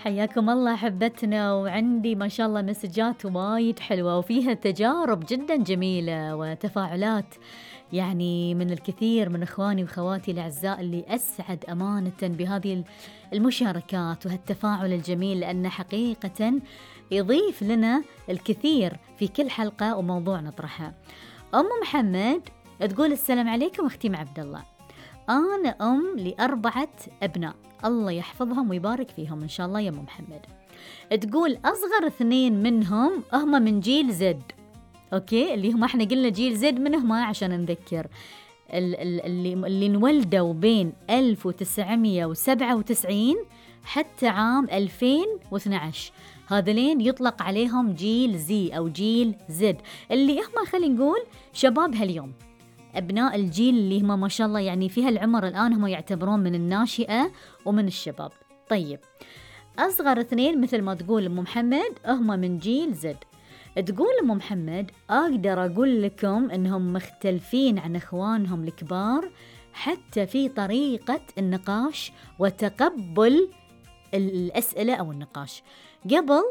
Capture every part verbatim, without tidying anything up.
حياكم الله أحبتنا، وعندي ما شاء الله مسجات وايد حلوة وفيها تجارب جدا جميلة وتفاعلات يعني من الكثير من إخواني وخواتي الأعزاء اللي أسعد أمانة بهذه المشاركات وهالتفاعل الجميل، لأنه حقيقة يضيف لنا الكثير في كل حلقة وموضوع نطرحه. أم محمد تقول السلام عليكم أختي عبد الله، أنا أم لأربعة أبناء، الله يحفظهم ويبارك فيهم إن شاء الله يا أم محمد. تقول أصغر اثنين منهم هم من جيل زد، أوكي، اللي هم إحنا قلنا جيل زد منهم عشان نذكر اللي, اللي انولدوا بين ألف وتسعمية وسبعة وتسعين حتى عام ألفين واثني عشر، هذلين يطلق عليهم جيل زي أو جيل زد، اللي هم خلينا نقول شباب هاليوم، أبناء الجيل اللي هم ما شاء الله يعني في هالعمر الآن هم يعتبرون من الناشئة ومن الشباب. طيب أصغر اثنين مثل ما تقول أم محمد هم من جيل زد. تقول أم محمد أقدر أقول لكم أنهم مختلفين عن إخوانهم الكبار حتى في طريقة النقاش وتقبل الأسئلة أو النقاش. قبل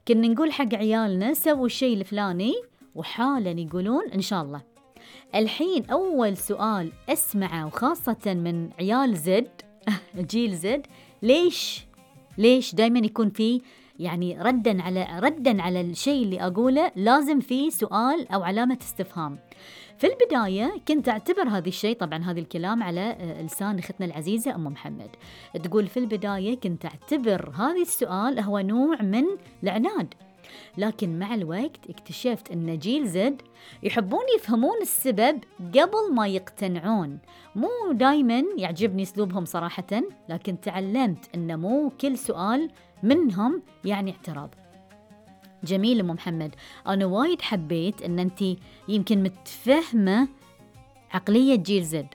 كنا نقول حق عيالنا سووا الشيء الفلاني وحالا يقولون إن شاء الله. الحين أول سؤال أسمعه وخاصة من عيال زد جيل زد، ليش ليش دايما يكون فيه يعني ردا على ردا على الشيء اللي أقوله لازم فيه سؤال أو علامة استفهام. في البداية كنت أعتبر هذا الشيء، طبعا هذا الكلام على لسان أختنا العزيزة أم محمد، تقول في البداية كنت أعتبر هذا السؤال هو نوع من العناد، لكن مع الوقت اكتشفت أن جيل زد يحبون يفهمون السبب قبل ما يقتنعون. مو دايما يعجبني أسلوبهم صراحة، لكن تعلمت أن مو كل سؤال منهم يعني اعتراض. جميل أم محمد، أنا وايد حبيت أن أنت يمكن متفهمة عقلية جيل زد.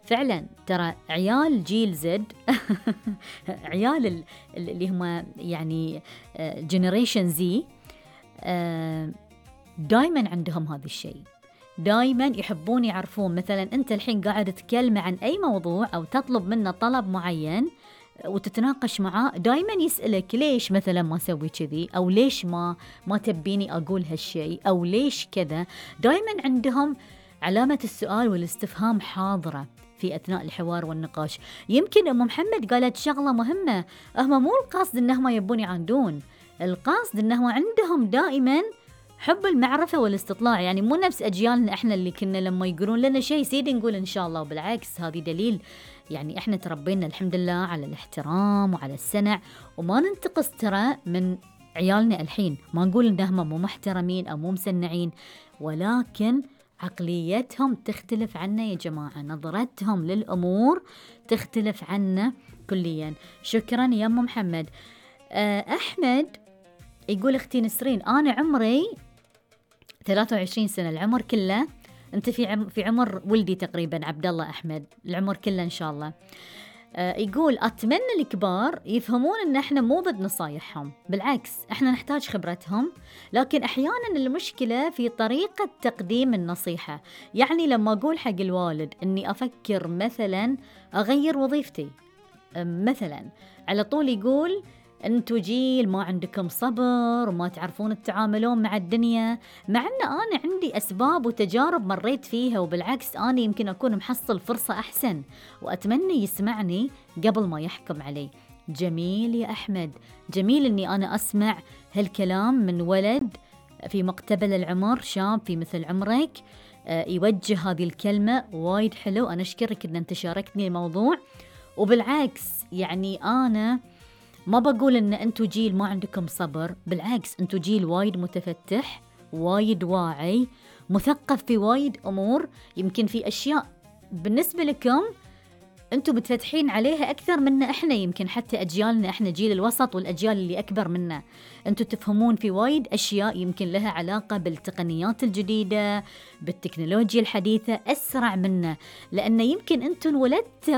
فعلا ترى عيال جيل زد عيال اللي هم يعني جنريشن زي دايما عندهم هذا الشيء، دايما يحبون يعرفون. مثلا أنت الحين قاعد تتكلم عن أي موضوع أو تطلب منه طلب معين وتتناقش معاه، دايما يسألك ليش مثلا ما سوي كذي، أو ليش ما ما تبيني أقول هالشيء، أو ليش كذا. دايما عندهم علامة السؤال والاستفهام حاضرة في أثناء الحوار والنقاش. يمكن أم محمد قالت شغلة مهمة، هم مو القصد إنهم يبون يعاندون، القصد إنهم عندهم دائما حب المعرفة والاستطلاع، يعني مو نفس أجيالنا إحنا اللي كنا لما يقولون لنا شيء سيدي نقول إن شاء الله. وبالعكس هذه دليل يعني إحنا تربينا الحمد لله على الاحترام وعلى السنع، وما ننتقص ترى من عيالنا الحين، ما نقول إنهم مو محترمين أو مو مسنعين، ولكن عقليتهم تختلف عنا يا جماعة، نظرتهم للأمور تختلف عنا كليا. شكرا يا أم محمد. أحمد يقول أختي نسرين أنا عمري ثلاثة وعشرين سنة، العمر كله أنت في عم في عمر ولدي تقريبا عبد الله أحمد، العمر كله إن شاء الله. آه يقول أتمنى الكبار يفهمون إن إحنا مو ضد نصايحهم، بالعكس إحنا نحتاج خبرتهم، لكن أحيانا المشكلة في طريقة تقديم النصيحة. يعني لما أقول حق الوالد إني أفكر مثلا أغير وظيفتي مثلا، على طول يقول أنتوا جيل ما عندكم صبر وما تعرفون تتعاملون مع الدنيا، مع أن أنا عندي أسباب وتجارب مريت فيها، وبالعكس أنا يمكن أكون محصل فرصة أحسن، وأتمنى يسمعني قبل ما يحكم علي. جميل يا أحمد، جميل أني أنا أسمع هالكلام من ولد في مقتبل العمر، شاب في مثل عمرك يوجه هذه الكلمة، وايد حلو. أنا أشكرك أن أنت شاركتني الموضوع، وبالعكس يعني أنا ما بقول إن أنتوا جيل ما عندكم صبر، بالعكس أنتوا جيل وايد متفتح، وايد واعي، مثقف في وايد أمور، يمكن في أشياء بالنسبة لكم أنتوا متفتحين عليها أكثر منا إحنا، يمكن حتى أجيالنا إحنا جيل الوسط والأجيال اللي أكبر منا، أنتوا تفهمون في وايد أشياء يمكن لها علاقة بالتقنيات الجديدة، بالتكنولوجيا الحديثة أسرع منا، لأن يمكن أنتوا انولدتوا